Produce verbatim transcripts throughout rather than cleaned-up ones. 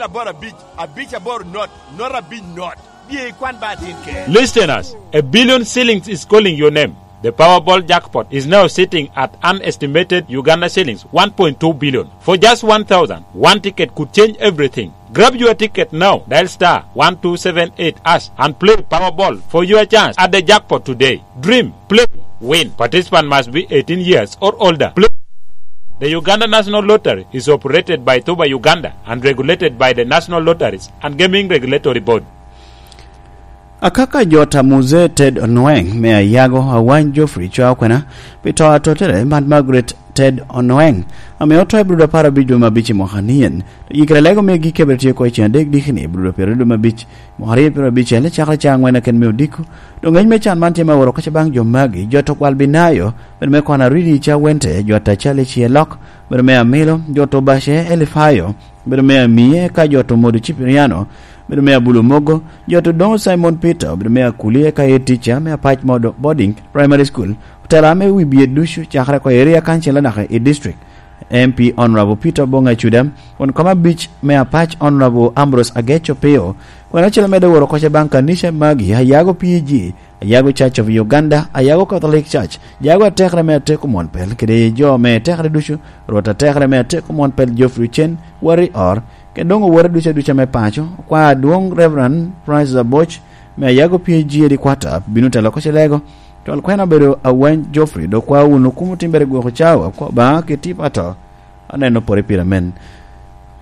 Aboro abic, abic aboro not, not abic not. Bye ikwan ba atin ke. Listeners, a billion shillings is calling your name. The Powerball jackpot is now sitting at an estimated Uganda shillings one point two billion. For just one thousand, one ticket could change everything. Grab your ticket now. Dial star one two seven eight hash and play Powerball for your chance at the jackpot today. Dream, play, win. Participant must be eighteen years or older. Play. The Uganda National Lottery is operated by Tuba Uganda and regulated by the National Lotteries and Gaming Regulatory Board. Akaka jot a Muzee Ted Onweng me Ayago, Awany Geoffrey Chwa Okwena, pi to a tottere Mad Margaret Ted Onweng, ame oto i Abril apar abic dwe me abic i mwaka nien. To yikere lego me gik kebere tye oko i ceng adek dikini, Abril pyeraryo dwe me abic, mwaka aryo pyeraryo abicel, cakere ca angwen aken me odiko. Doŋ ngec me can man tye me aworo kaca baŋ jo magi, jot okwal Binayo, bedo me Kona Ridi ca Wente, jot a Cali Cielok, bedo me Amilo, jot Obace Elifayo, bedo me Amie, ka jot Omodo Cipiriano, bedo me Abulu Mogo, jot Odoŋo Simon Peter, bedo me Akulie, ka ye tica me Apac Modo Boarding Primary School, otela me wi bye ducu, cakere oko area council anaka i district. M P Honorable Peter Obong Acuda, won kom abic me Apac Honorable Ambrose Agech Opio, kwena acel amedde woro koca baŋ kanica magi, Ayago P A G, Ayago Church of Uganda, Ayago Catholic Church, Jago atekere me Ateko Mwon Pel, kede jo me tekere ducu, Rwot atekere me Ateko Mwon Pel Geoffrey Ochen, Wari Or, kede doŋ owote ducu aduca me paco, kwa adwoŋ Reverend Francis Aboch, me Ayago P A G Headquarter, bino telo koca lego, twal kwena obedo Awany Geoffrey, dok kwa wun okumo timbere gwoko cawa, kwa ba keti pato. Aneno pore pire men.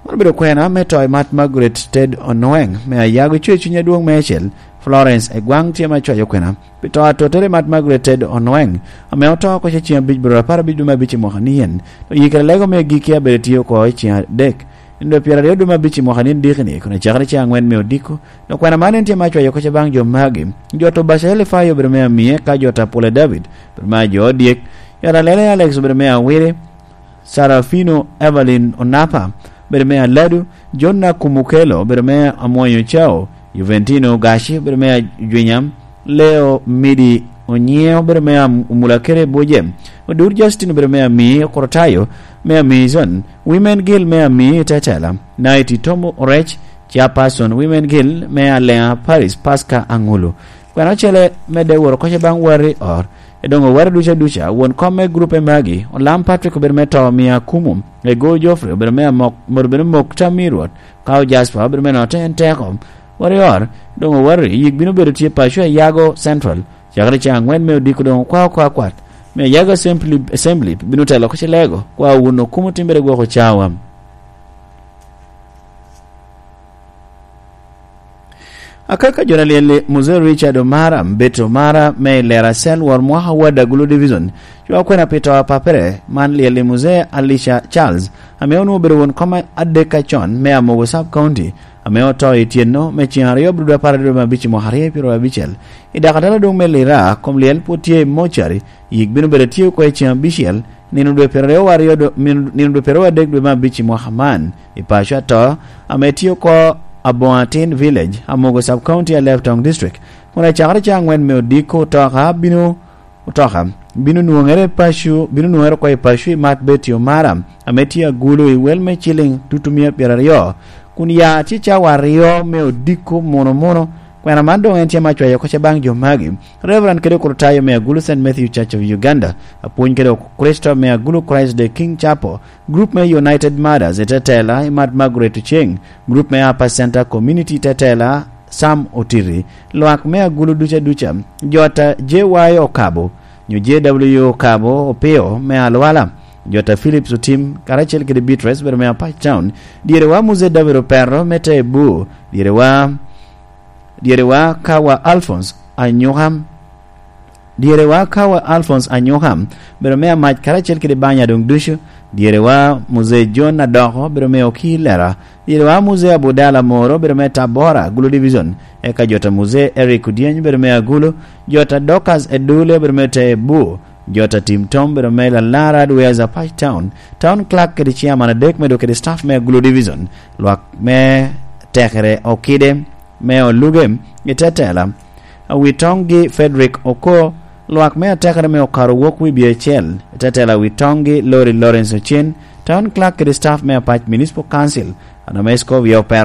Man obedo kwena me to i Mat Margaret Ted Onweng, me Ayago, coyo cuny adwoŋ me acel, Florence Egwaŋ tye me cwayo kwena. Pi to atottere Mat Margaret Ted Onweng, ame oto oko ce ceng abic bro apar abic dwe me abic i mwaka nien, to yikere lego me giki abedo tye oko i ceng adek, i dwe pyeraryo dwe me abic i mwaka nien dikini, kun acakere ceng angwen me odiko, dok kwena man en tye me acwayo koca baŋ jo magi, jo to Bacael Ifayo obedo me amie, ka jo ta Pula David, obedo me ajo odyek, jo ta Lele Alex obedo me awiri, Sarafino Evelyn Onapa, bedo me Aladu, John Nakumukelo, bedo me Amwonyo Cao, Juventino Gashi, bedo me Ajwinya, Leo Midi Onyieo, bedo me Am-, Omulakere Buje, Odur Justin, bedo me Ami Korotayo, me Ami Zone, Women Guild me Ami Tetela, Night Tomo Orech, Chairperson Women Guild me Alea Paris, Pasca Angulu. Kwena ocele medde woro koca baŋ Wari Or, Edoŋ owero duca duca, won kom me grupe magi, Olam Patrick obedo me to mia akumo, Ego Geoffrey obedo me amok, mot obedo mok tam i Rwot, Kao Jasper obedo me note en teko. Warior, doŋ owero, yik bino bedo tye paco a Yago Central, cakere ca angwen me odiko doŋ okwa oko akwat, me Yago Assembly, Assembly bino telo oko cilego, kwa wun okumo timbere gwoko cawa. Akaka jo na lyel-li, Mzee Richard Omara, Mbet Omara, me i Lera Cell, wor mwaka wad Agulu Division, cwa kwena pi to a papere, man lyel-li Mzee Alisha Charles, ame onwoŋo obedo won kom adek acon me Amogo Sub County, ame oto i tyeno me ceng aryo bro dwe apar aryo me abic i mwaka aryo pyeraryo abicel. I dakatala doŋ me Lira, kom lyel pwod tye i mocari, yik bino bedo tye oko i ceng abicel, nino dwe pyeraryo aryo do-, min-, nino dwe pyeraryo adek dwe me abic i mwaka man, i paco ato, ame tye oko Aboŋo Atin Village, Amogo Sub County, Alebtong District, kun acakere ca angwen me odiko otoka bino, otoka bino nwoŋere paco, bino nwoŋere oko i paco i Mat Betty Omara, ame tye agulu i wel me ciliŋ tutumia pyeraryo, kun ya tye cawa aryo me odiko muno muno, kwena man doŋ en tye me acwayo oko ce baŋ jo magi. Reverend kede Okrutayo me Agulu Saint Matthew Church of Uganda, apwony kede Okricito me Agulu Christ the King Chapel, grup me United Mothers i tetela i Mat Margaret Oceng, grup me Upper Center Community i tetela Sam Otiri, lwak me Agulu duca duca, jota J Y Okabo, nyo J W Okabo Opio me Alwala, jota Phillips Otim, karacel kede Beatrice bedo me Apac Town, dyerewa Mzee David Opero me Tebu, dyerewa Dyerewa Kawa Alphonse Anyuka, dyerewa Kawa Alphonse Anyuka, bedo me Amac karacel kede banya doŋ ducu, dyerewa Mzee John Adoko, bedo me Oki Lera, dyerewa Mzee Abudala Moro, bedo me Tabora, Gulu Division, eka jota Mzee Eric Odyeny, bedo me Agulu, jota Dorcas Edule, bedo me Tebu, jota Tim Tom, bedo me Lalara Dweza Pac Town, Town Clerk kede Chairman adek, medo kede staff me Agulu Division, lwak me tekere Okide, me Oluge i tetela, Awitoŋgi Frederick Oko, lwak me atekere me Okaro Wok Wibye Acel, i tetela Awitoŋgi Lori Lawrence Ocen, Town Clerk kede staff me Apac Municipal Council, Anames Kovia Opero,